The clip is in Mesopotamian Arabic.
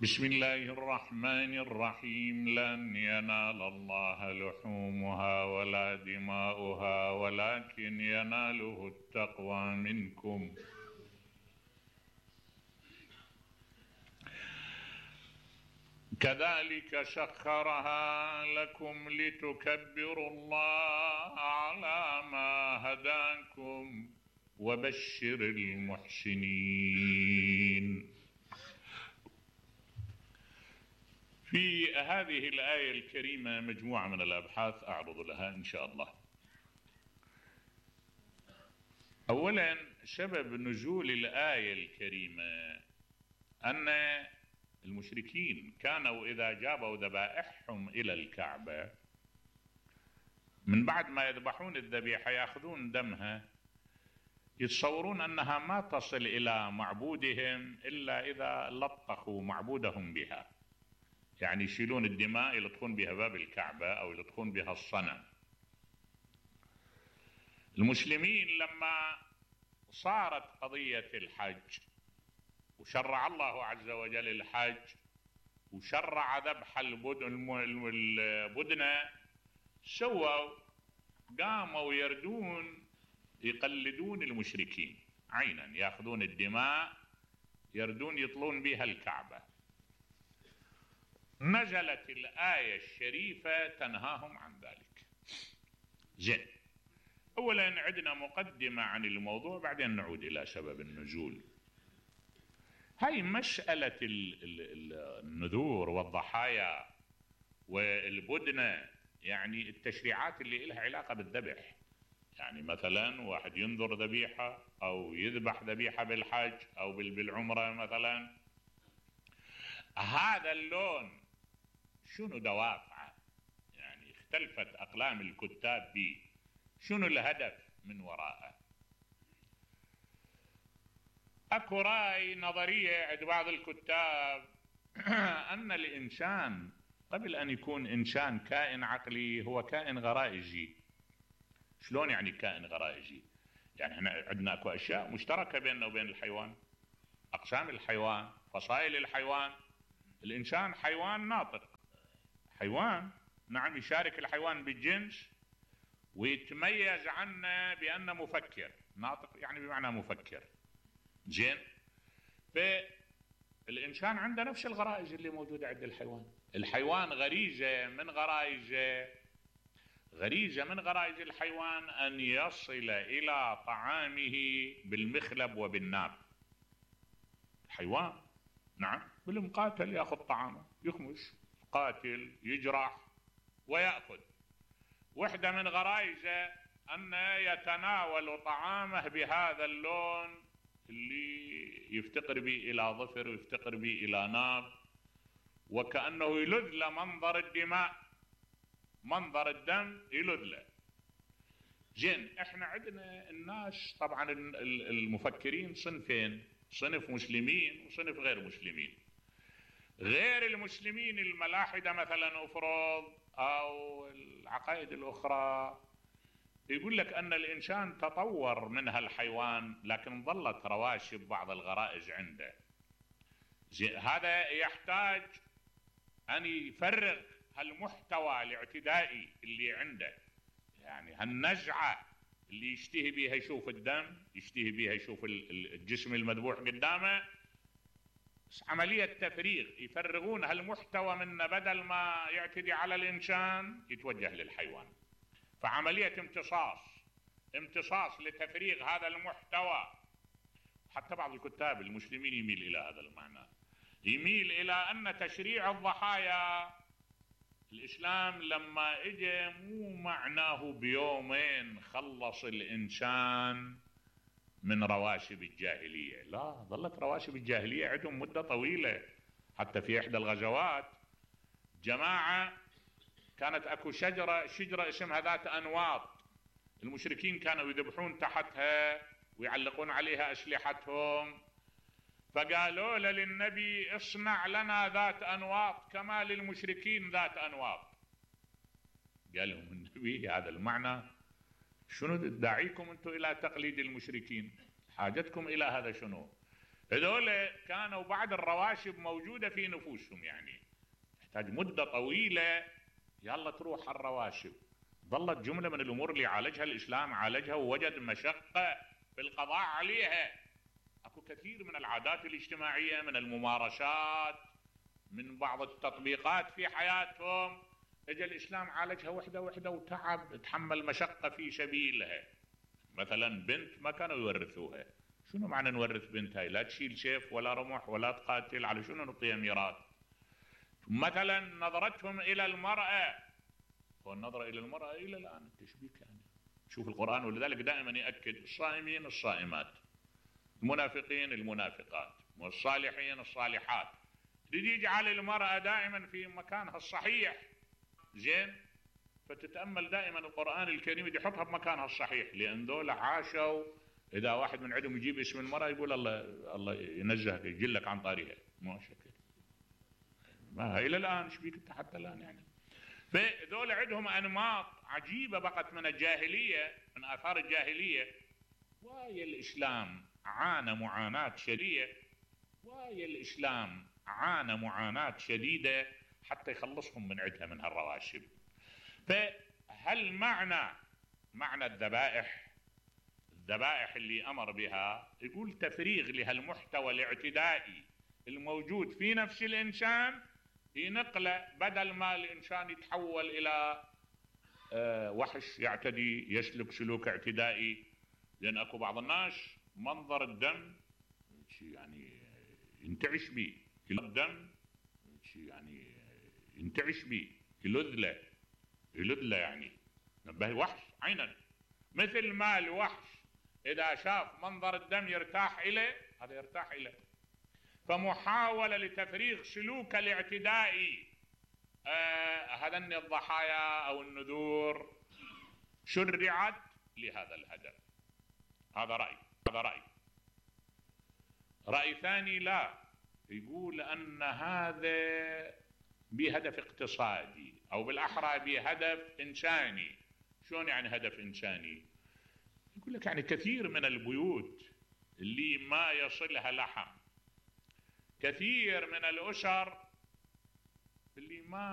بسم الله الرحمن الرحيم. لن ينال الله لحومها ولا دماؤها ولكن يناله التقوى منكم. كذلك سخرها لكم لتكبروا الله على ما هداكم وبشر المحسنين. في هذه الآية الكريمة مجموعة من الأبحاث أعرض لها إن شاء الله. أولا، سبب نزول الآية الكريمة أن المشركين كانوا إذا جابوا ذبائحهم إلى الكعبة من بعد ما يذبحون الذبيحة يأخذون دمها، يتصورون أنها ما تصل إلى معبودهم إلا إذا لطخوا معبودهم بها، يعني يشيلون الدماء يلطخون بها باب الكعبة أو يلطخون بها الصنم. المسلمين لما صارت قضية الحج وشرع الله عز وجل الحج وشرع ذبح البدنة، قاموا يردون يقلدون المشركين عينا، يأخذون الدماء يردون يطلون بها الكعبة. نزلت الآية الشريفة تنهاهم عن ذلك. زين، أولا عندنا مقدمة عن الموضوع بعدين نعود إلى سبب النزول. هاي مسألة النذور والضحايا والبدنة، يعني التشريعات اللي لها علاقة بالذبح، يعني مثلا واحد ينذر ذبيحة أو يذبح ذبيحة بالحج أو بالعمرة مثلا، هذا اللون شنو دوافعه؟ يعني اختلفت أقلام الكتاب به، شنو الهدف من وراءه؟ اكو رأي نظرية عند بعض الكتاب أن الإنسان قبل أن يكون إنسان كائن عقلي هو كائن غرائزي. شلون يعني كائن غرائزي؟ يعني احنا عندنا اكو أشياء مشتركة بيننا وبين الحيوان، أقسام الحيوان، فصائل الحيوان. الإنسان حيوان ناطق، حيوان نعم، يشارك الحيوان بالجنس ويتميز عنه بأنه مفكر. ناطق يعني بمعنى مفكر. زين، فالإنسان عنده نفس الغرائز اللي موجودة عند الحيوان. الحيوان غريزة من غرائز الحيوان أن يصل إلى طعامه بالمخلب وبالناب. الحيوان نعم بالمقاتل يأخذ طعامه، يخمش، قاتل، يجرح ويأخذ. وحدة من غرائزه أن يتناول طعامه بهذا اللون اللي يفتقر به إلى ظفر ويفتقر به إلى ناب، وكأنه يلذ له منظر الدماء، منظر الدم يلذ له. زين، احنا عندنا الناس طبعا المفكرين صنفين، صنف مسلمين وصنف غير مسلمين. غير المسلمين الملاحدة مثلا أفرض أو العقائد الأخرى يقول لك أن الإنسان تطور منها الحيوان لكن ظلت رواشب بعض الغرائز عنده. هذا يحتاج أن يفرغ هالمحتوى الاعتدائي اللي عنده، يعني هالنزعة اللي يشتهي بها يشوف الدم، يشتهي بها يشوف الجسم المذبوح قدامه. عملية تفريغ، يفرغون هالمحتوى منه، بدل ما يعتدي على الإنسان يتوجه للحيوان. فعملية امتصاص لتفريغ هذا المحتوى. حتى بعض الكتاب المسلمين يميل إلى هذا المعنى، يميل إلى أن تشريع الضحايا الإسلام لما إجا مو معناه بيومين خلص الإنسان من رواشب الجاهلية، لا، ظلت رواشب الجاهلية عندهم مدة طويلة. حتى في إحدى الغزوات جماعة كانت أكو شجرة اسمها ذات أنواط، المشركين كانوا يذبحون تحتها ويعلقون عليها أسلحتهم، فقالوا للنبي اصنع لنا ذات أنواط كما للمشركين ذات أنواط. قال لهم النبي هذا المعنى شنو داعيكم أنتم إلى تقليد المشركين؟ حاجتكم إلى هذا شنو؟ هذول كانوا بعد الرواشب موجودة في نفوسهم، يعني تحتاج مدة طويلة يلا تروح الرواشب. ظلت جملة من الأمور اللي عالجها الإسلام، عالجها ووجد مشقة في القضاء عليها. أكو كثير من العادات الاجتماعية، من الممارسات، من بعض التطبيقات في حياتهم، اجى الإسلام عالجها وحدة وحدة وتعب، تحمل مشقة في سبيلها. مثلا بنت ما كانوا يورثوها، شنو معنى نورث بنت هاي؟ لا تشيل سيف ولا رمح ولا تقاتل، على شنو نعطيها ميراث؟ مثلا نظرتهم إلى المرأة، والنظرة إلى المرأة إلى الآن التشبيك، يعني شوف القرآن، ولذلك دائما يأكد الصائمين الصائمات، المنافقين المنافقات، والصالحين الصالحات، يريد يجعل المرأة دائما في مكانها الصحيح. زين، فتتأمل دائما القرآن الكريم يحطها بمكانها الصحيح، لأن ذول عاشوا. إذا واحد من عندهم يجيب اسم المرأة يقول الله ينزهك يجلك عن طاريها، ما شكل ما إلى الآن شبيك انت حتى الآن يعني. فذول عندهم أنماط عجيبة بقت من الجاهلية، من آثار الجاهلية. ويا الإسلام عانى معاناة شديدة، ويا الإسلام عانى معاناة شديدة حتى يخلصهم من عندها من هالرواشب. فهل معنى الذبائح اللي أمر بها، يقول تفريغ لهالمحتوى الاعتدائي الموجود في نفس الإنسان، ينقله بدل ما الإنسان يتحول إلى وحش يعتدي يسلك سلوك اعتدائي. لأن أكو بعض الناس منظر الدم يعني ينتعش به، الدم يعني ينتعش به، يلذله يعني نبه وحش عينا. مثل ما الوحش إذا شاف منظر الدم يرتاح إليه، هذا يرتاح إليه. فمحاولة لتفريغ سلوك الاعتدائي هذن الضحايا أو النذور شرعت لهذا الهدف. هذا رأي ثاني لا، يقول أن هذا بهدف اقتصادي، أو بالأحرى بهدف إنساني. شلون يعني هدف إنساني؟ يقول لك يعني كثير من البيوت اللي ما يصلها لحم، كثير من الأسر اللي ما